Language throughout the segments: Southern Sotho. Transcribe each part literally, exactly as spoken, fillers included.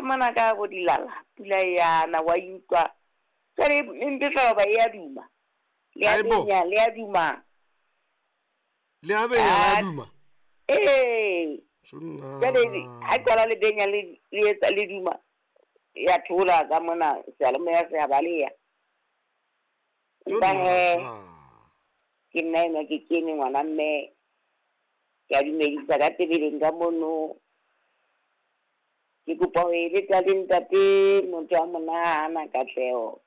Ka mona ka bo dilala pula yana wa utlwa. Jwale e mpe fela ba e a duma. Le a benya, le a duma. Le a benya, le a duma. Eh. Jwale ha qala le benya le le etsa le duma. Ya thola ka mona seyalemoya se a baleha. Empa he ke nna enwa ke kene ngwana mme ke a dumedisa ka tebeleng ka mono. Ke kopa ho eletsa le ntate motho a monahana Katleho.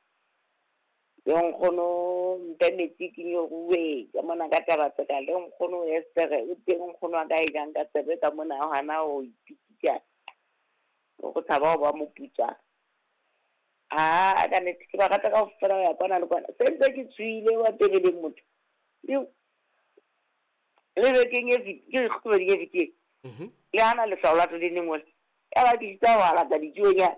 Le nkgono mpe metsi ke nyoruwe ka mona ka taba tseka le nkgono Esther o teng nkgono a ka e jang ka tsebe ka mona hana ho ipitsa. O tshaba ho ba moputswa. Ah, ka nnete ke ba rata kaofela ho ya kwana le kwana. Se ntse ke tswile wa tebeleng motho. Le bekeng e ke kgwedi e fetileng. Mhm. Le hana lehlwa la tlo neng wena. Ya ba ke sitsa wa lata ditsuonyana.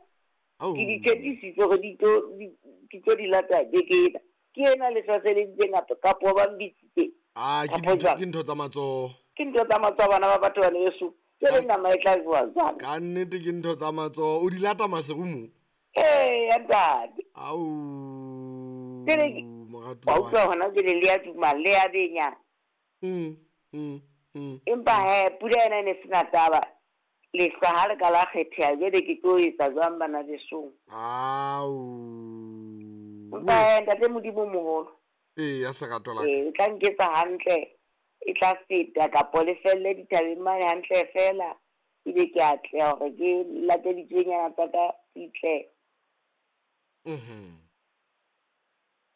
Ke di tshepisitse hore di tlo di tlo di lata beke ena. Ke ena lehlwa se le itseng kapo ba mbitsitse. Ah, ke dintho ke ntho tsa matsoho. Ke ntho tsa matsoho bana ba batho bana yeso. Ke le nama e tla jowa jwang. Ka nnete ke ntho tsa matsoho. O di lata maserumo? Eh, ya ntate. Au. Jwale moratuwa. Wa utlwa hona jwale le a duma le a benya. Mm, mm, mm. Empa he pula ena e ne sena taba. Lehlwa ha le ka la kgetheha jwale ke tlo etsa jwang bana besong. Au. Empa he ntate Modimo moholo. Eh, ya serato la ka. Eh, o tla nketsa hantle. E tla feta kapo le felle dithabeng mane hantle fela. Ebe ke a tleha hore ke late ditsuonyana tsa ka di tle. Mhm.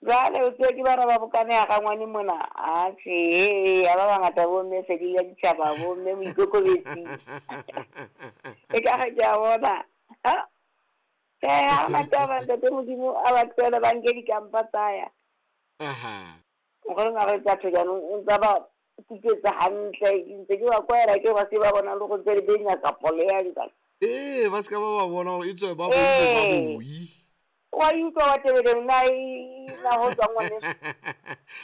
Jwale o tswe ke bana ba bokane ya rangwane mona. Atjhe, ya ba bangata bo mme fedile ya ditjhaba bo mme moikokobetsi. E ka re ke a bona. Ha? Eh, ha hona taba ntate Modimo a ba tlohele ba nke dikampa tsa ya. Aha. Nkgono a re tsa jaanong o ntsa ba kutswetsa hantle ke ntse ke ba kwaela ke ba se ba bona le go ntse le benya kapo le ya jwang. Eh, ba ska ba ba bona hore e tswe ba boi ba boi. Wa utlwa wa tebeleng na e na ho tswa ngwaneso.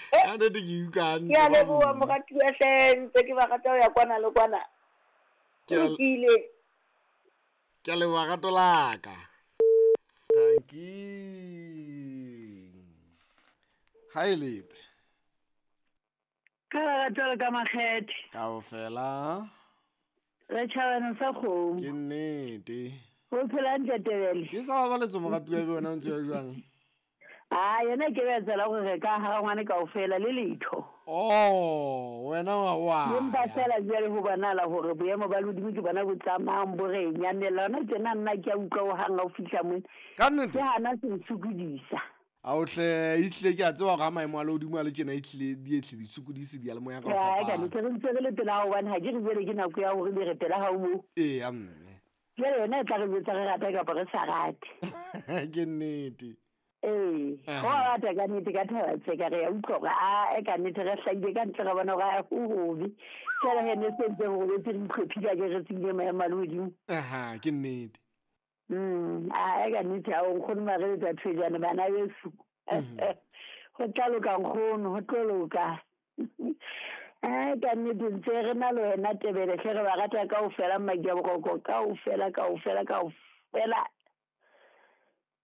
Ka nnete ke utlwa hantle. Ke a leboha moratuwa hle ntse ke ba rata ho ya kwana le kwana. Ke a Lokile. Ke a leboha rato la ka. Tanki. Ha e lepe. Ka lerato le ka makgethe. Kaofela. Re tjhabana sa kgomo. Ke nnete. Ho phela hantle Tebele. Ke sa babaletso moratuwa ebe wena o ntse o jwang? Ah, yena ke ba tsela hore re ka ha ngwane kaofela le letho. Oh, wena wa wa. Empa fela jwale ho bonala hore boemo ba lehodimo ke bona bo tsamayang bo re nyamela. Hona tjena nna ke a utlwa ho hang ha o fihla mona. Ka nnete? Ke hana se nsokodisa. A o hle, ehlile ke a tseba hore ha maemo a lehodimo a le tjena ehlile di ehlile di sokodise diyalemoya ka ho Ai, ka fapana. nnete re ntse re le pela hobane ha ke re jwale ke nako ya hore re pela ha o moo. Ee, ya mme. Jwale yona e tla re jwetsa re rata kapa re sa rate. Ke nnete. Ee, Aha. ho rata ka nnete ka thaba tse ka re ya utlwa hore a e ka nnete re hlahile ka ntle re bona hore a ho hobe. Jwale he ne se ntse re robetse re itlhophile ke re tsebile maemo a lehodimo. Aha, ke nnete. Mm, a e ka nnete ha o nkgono Mareletsa Thwejane bana beso. Ho tla loka nkgono, ho tlo loka. Ai ka nnete ntse re na le wena Tebele hle re ba rata kaofela Mmaki ya Boroko kaofela kaofela kaofela.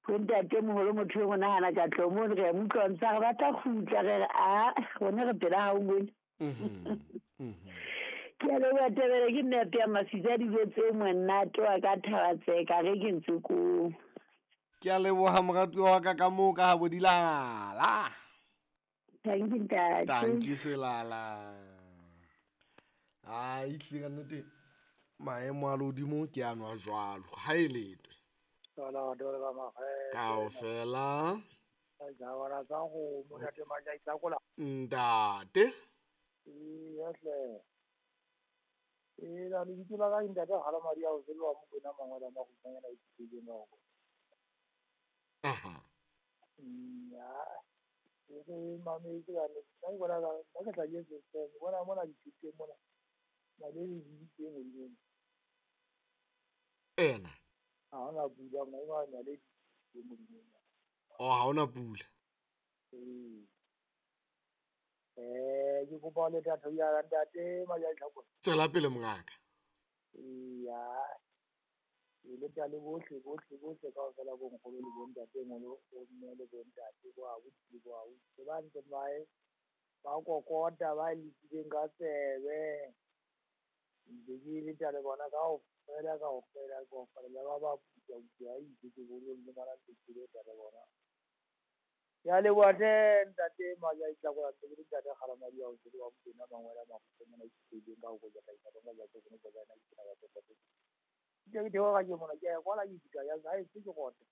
Ho ntate moholo motho e monahana ka tlo mono re a mo utlwa ntse a re batla kgutla re re a rona re pela ha o mone. Mhm. Mhm. Ke a leboha Tebele ke nna ya masitsa dijo tse monate wa ka thaba tseka re ke ntse ko. Ke a leboha moratuwa wa ka ka moo ka ha bo dilala. Thank you ntate. Thank you selala. Ah, ehlile ka nnete maemo a lehodimo ke a nwa jwalo. Ha e letwe. Kaofela. Ntate. Ee, la lebitso la ka ntate Gala Maria o tsela Mokwena Mangwela Magutanyana e tsile noko. Aha. Mm, ya. Ke re mametse ka nna ke bona ka nna ke tla ke se bona mona dithuteng mona. Naledi di teng hodimo. Ena. Ha hona pula maemo a naledi di teng hodimo. Oh, ha hona pula. Ee. Eh, ke kopa le thato ya ntate Maja Tlhako. Tswela pele mongaka. Ee, ya. Ke leta le bohle bohle bohle kaofela bo nkgono le bo ntatemoholo, bo mme le bo ntate, bo abuti le bo ausi. Ba ntse ba e ba kokota ba letileng ka tsebe. Ntse ke leta le bona kaofela kaofela kaofela le ba ba puta puta a itse ke bolong le ngwana ntse ke leta le bona. Ke a leboha hle ntate Majaitlakola ntse ke le ntate Kgalamadi ya ho tsebe wa Mokwena Mangwele a Makgotso mona ke ka ho koja hlahisa ka ja tse kono koja ena ke taba tse tse. Ke ke theoha ke mona ke ya kwala ke fihla ya hae se ke rote.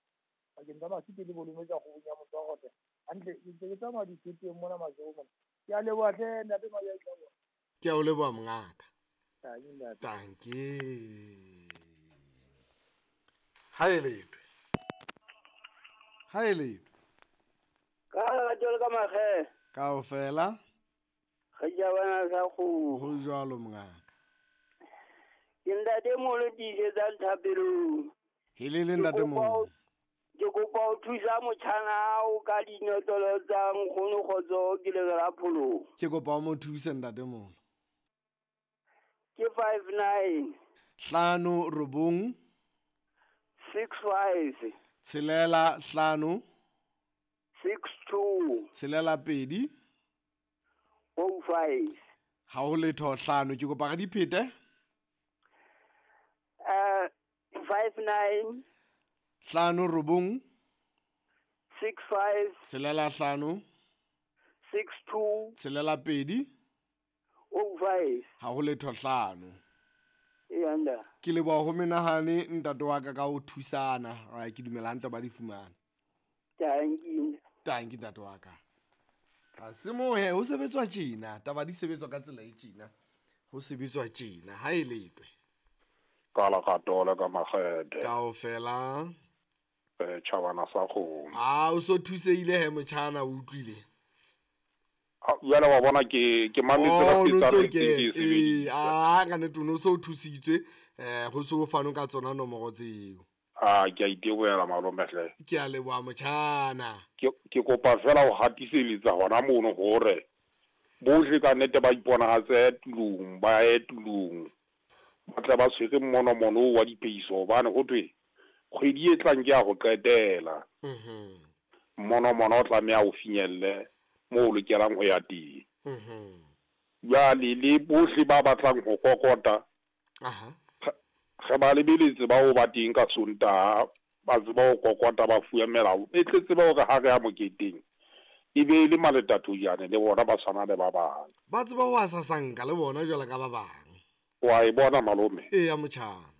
Bakeng tsa masite le bolume tsa kgobong ya motho wa rote. Hantle ke ntse ke tsamaya dithoteng mona matsoho mona. Ke a leboha hle ntate Majaitlakola. Ke a o leboha mongaka. Tanki. Tanki. Ha e letwe. Ha e letwe. Ka lerato le ka makgethe. Kaofela. Re jabana sa kgomo. Ho jwalo mongaka. Ke ntate moholo tiisetsang thapelong. Helele ntate moholo. Ke kopa ho thusa motjhana hao ka dinotlolo tsa nkgono Kgotso ke le la pholong. Ke kopa o mo thuse ntate moholo. Ke five nine. Hlano robong. Six five. Tshelela hlano. Six two. Tshelela pedi. Oh five. Ha ho letho hlano ke kopa re di phete. Uh, five nine. Hlano robong. Six five. Tshelela hlano. Six two. Tshelela pedi. Oh five. Ha ho letho hlano. Eya. Ke leboha ho menahane ntate wa ka ka ho thusana. Ai ke dumela hantle ba di fumana. Tanki. Tanki ntate wa ka. Ha se mohe ho sebetswa tjena, taba di sebetswa ka tsela e tjena. Ho sebetswa tjena ha e letwe. Ka lerato le ka makgethe. Kaofela. Eh tjhabana sa kgomo. Ah o so thuseile he motjhana o utlwile. Ah jwale wa bona ke ke mametse ka tsa ke ke ah ka nnete o so thusitswe eh ho so fano ka tsona nomoro tseo. Ah ke a itebohela malome hle. Ke a leboha motjhana. Ke ke kopa fela ho hatiseletsa hona mono hore bohle ka nnete ba iponahatse tulong ba ye tulong. Ba tla ba tshwere mmonomono wa dipeiso hobane ho thwe kgwedi e tlang ke ya ho qetela. Mhm. Mmonomono o tlameha o finyelle moo o lokelang ho ya teng. Mhm. Jwale le bohle ba batlang ho kokota. Aha. Re ba lebeletse ba o ba teng ka Sontaha ba tseba ho kokota ba fuwe melao e tle tseba hore ha re ya moketeng e be le maletathojane le bona ba tshwana le ba bang. Ba tseba ho asasanka le bona jwalo ka ba bang. Wa e bona malome? Eya motjhana.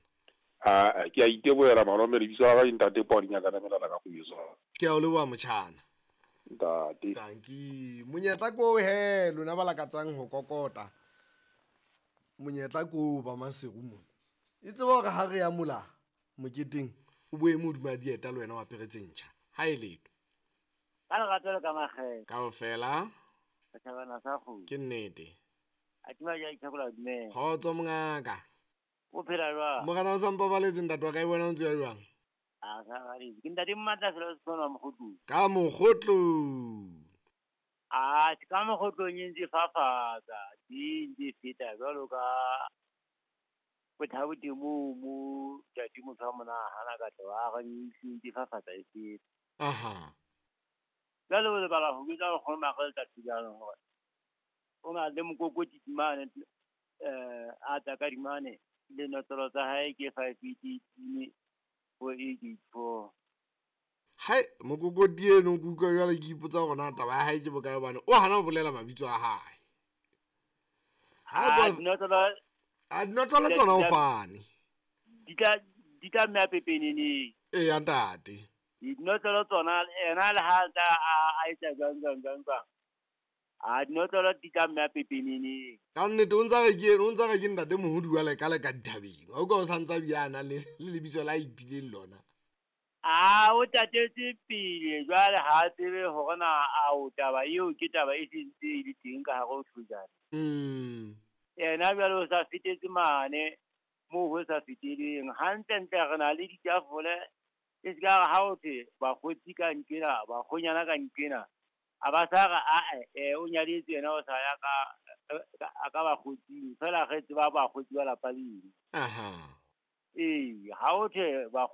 Ah ke a itebohela malome lebitso la ka ke ntate Podinya ka namelana ka go. Ke a o leboha motjhana. Ntate. Tanki. Monyetla ko he lona ba lakatsang ho kokota. Monyetla ko ba Maseru mona. E tseba hore ha re ya mola moketeng o boe modimo dieta le wena wa aperetse ntjha. Ha e letho. Ka lerato le ka makgethe. Kaofela. Tjhabana sa kgomo. Ke nnete. A tima ja ithakola dumela. Kgotso mongaka. O phela jwang? Morena o sa mpabaletse ntate wa ka e bona o ntse ya jwang? A sa baletse. Ke ntate Mmatla fela o se Mokgotlong. Ka Mokgotlong. A ka Mokgotlong e ntse fafatsa, di ntse feta jwalo ka bothabo temo mo ntate motho wa mona hana ka tlo a re ntse fafatsa e feta. Aha. Jwale o lebala ho bitsa go magela thulano hore o na le mokokoti mane eh a tla ka dimane le notlolo tsa hae ke five eight eight four eight eight four. Hai mokokoti eno ke utlwa jwale ke ipotsa hore na taba ya hae ke bokae hobane o hana ho bolela mabitso a hae. Ha dinotlolo a dinotlolo tsona o fane. Di tla di tla mme a pepeneneng. Eya ntate. Dinotlolo tsona ena le ha tla a etsa jwang jwang jwang jwang. A dinotlolo di tla mme a pepeneneng. Ka nnete o ntsa re ke o ntsa re ke ntate Mohodi wa le ka le ka dithabeng. Ha o ka o santsa biana le le lebitso la ipileng lona. A o tatetse pele jwale ha tsebe hore na a o taba eo ke taba e sentse e le teng ka hare ho Thojane. Mm. Yena jwale o sa fetetse mane moo ho sa feteleng. Hantlentle re na le ditafole e se ka re ha o thwe bakgotsi ka nkena, bakgonyana ka nkena. A ba sa re ae eh o nyadetse yena o sa ya ka a ka bakgotsing fela re tseba bakgotsi ba lapa leng. Aha. Ee, ha ho thwe bakgotsi.